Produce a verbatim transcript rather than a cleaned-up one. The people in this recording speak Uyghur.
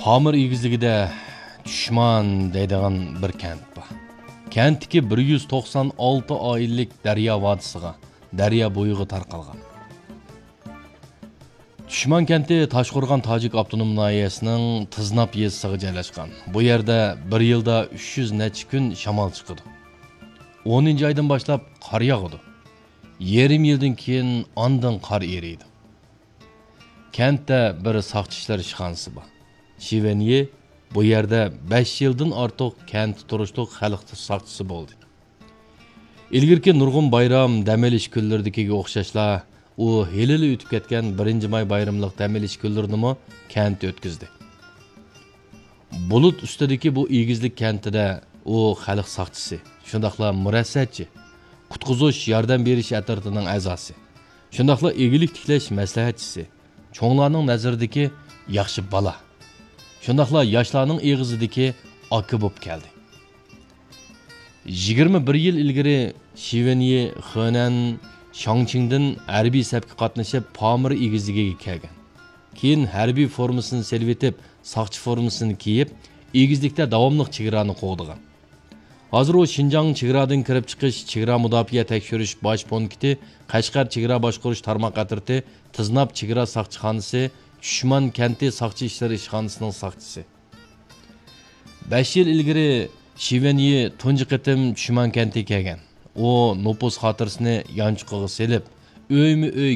پامىر ئېگىزلىكىدە چۈشمان دەيدىغان بىر كەنت بار. كەنتتىكى بىر يۈز توقسان ئالتە ئائىلىلىك دەريا ۋادىسىغا، دەريا بويىغا تارقالغان. چۈشمان كەنتى تاشقورغان تاجىك ئاپتونوم ناھىيەسىنىڭ تىزناپ يېزىسىغا جايلاشقان. بۇ يەردە بىر يىلدا ئۈچ يۈز نەچچە كۈن شامال چىقىدۇ. ئونىنچى ئايدىن باشلاپ قار ياغىدۇ. يېرىم يىلدىن كېيىن ئاندىن قار ئېرىيدۇ. كەنتتە بىر ساقچى ئىشلەر ئىشخانىسى بار. شىۋېنيى بۇ يەردە بەش يىلدىن ئارتۇق كەنتتە تۇرۇشلۇق خەلق ساقچىسى بولدى. ئىلگىرىكى نۇرغۇن بايرام، دەم ئېلىش كۈنلىرىدىكىگە ئوخشاشلا، ئۇ ھېلىلا ئۆتۈپ كەتكەن بىرىنچى ماي بايرىملىق دەم ئېلىش كۈنلىرىنىمۇ كەنتتە ئۆتكۈزدى. بۇلۇت ئۈستىدىكى بۇ ئېگىزلىك كەنتىدە ئۇ خەلق ساقچىسى، شۇنداقلا مۇرەسسەتچى، قۇتقۇزۇش ياردەم بېرىش ئەترىتىنىڭ ئەزاسى، شۇنداقلا ئىگىلىك تىكلەش مەسلىھەتچىسى، چوڭلارنىڭ نەزىرىدىكى ياخشى بالا، شۇنداقلا ياشلارنىڭ ئېغىزىدىكى ئاكا بولۇپ كەلدى. يىگىرمە بىر يىل ئىلگىرى شىۋېنيى خېنەن شاڭچىڭدىن ھەربىي سەپكە قاتنىشىپ، پامىر ئېگىزلىكىگە كەلگەن. كېيىن ھەربىي فورمىسىنى سېلىۋېتىپ، ساقچى فورمىسىنى كىيىپ، ئېگىزلىكتە داۋاملىق چېگرانى قوغدىغان. ھازىر ئۇ شىنجاڭ چېگرادىن كىرىپ چىقىش، چېگرا مۇداپىئە تەكشۈرۈش باش پونكىتى، قەشقەر چېگرا باشقۇرۇش تارماق ئەترىتى، تىزناپ چېگرا ساقچىخانىسى، چۈشمان كەنتى ساقچى ئىشلىرى ئىشخانىسىنىڭ ساقچىسى. بەش يىل ئىلگىرى شىۋېنيى تۇنجى قېتىم چۈشمان كەنتىگە كەلگەن. ئۇ نوپۇس خاتىرىسىنى يانچۇقىغا سېلىپ، ئۆيمۇ ئۆي